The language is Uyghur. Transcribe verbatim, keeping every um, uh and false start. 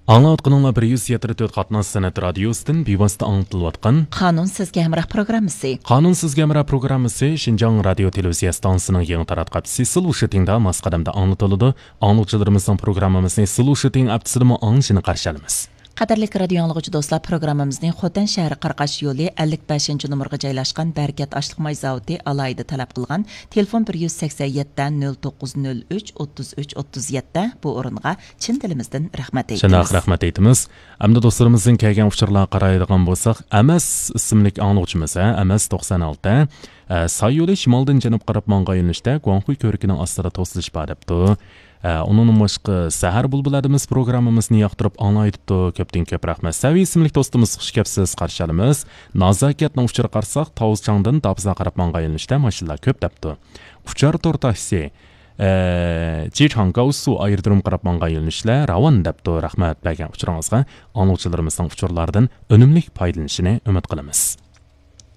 ئاڭلاۋاتقىنىڭلار بىر يۈز يەتتە تۆت قاتناش سەنئەت رادىيوسىدىن بىۋاسىتە ئاڭلىتىلىۋاتقان قانۇن سىزگە ھەمراھ پروگراممىسى. قانۇن سىزگە ھەمراھ پروگراممىسى شىنجاڭ رادىيو تېلېۋىزىيە ئىستانسىسىنىڭ يېڭى تاراتقۇ ئاپتىسى سىلۇشىتىڭدا ماس قەدەمدە ئاڭلىتىلىدۇ. ئاڭلىغۇچىلىرىمىزنىڭ پروگراممىمىزنى سىلۇشىتىڭ ئاپتىسىدىمۇ ئاڭلىشىنى قارشى ئالىمىز. قەدىرلىك رادىيو ئاڭلىغۇچى دوستلار، پروگراممىمىزنى خوتەن شەھىرى قاراقاش يولى ئەللىك بەشىنچى نومۇرغا جايلاشقان بەرىكەت ئاشلىق ماي زاۋۇتى ئالاھىدە تەلەپ قىلغان تېلېفون بىر يۈز سەكسەن يەتتە، نۆل توققۇز نۆل ئۈچ، ئوتتۇز ئۈچ، ئوتتۇز يەتتە بۇ ئورۇنغا چىن دىلىمىزدىن رەھمەت ئېيتىمىز. شۇنداق، رەھمەت ئېيتىمىز. ئەمدى دوستلىرىمىزدىن كەلگەن ئۇچۇرلارغا قارايدىغان بولساق، ئەمەس ئىسىملىك ئاڭلىغۇچىمىز، ھە، ئەمەس توقسان ئالتە، ئە، ساي يولى شىمالدىن جەنۇبقا قاراپ ماڭغان يۆنىلىشتە گۇاڭخۇي كۆۋرۈكىنىڭ ئاستىدا توسۇلۇش بار دەپتۇ. ئە، ئۇنىڭدىن باشقا، سەھەر بۇلبۇلى ئادىمىز پروگراممىمىزنى ياقتۇرۇپ ئاڭلايدۇ. كۆپتىن كۆپ رەھمەت. سەۋىي ئىسىملىك دوستىمىز، خۇش كەپسىز، قارشى ئالىمىز. نازاكەتنىڭ ئۇچۇرىغا قارىساق، تاۋزچاڭدىن داپزا قاراپ ماڭغان يۆنىلىشتە ماشىنىلار كۆپ دەپتۇ. ئۇچار تور تاكسى، ئە، جىچاڭ گاۋسۇ ئايرودروم قاراپ ماڭغان يۆنىلىشلەر راۋان دەپتۇ. رەھمەت بەرگەن ئۇچۇرىڭىزغا. ئاڭلىغۇچىلىرىمىزنىڭ ئۇچۇرلاردىن ئۈنۈملۈك پايدىلىنىشىنى ئۈمىد قىلىمىز.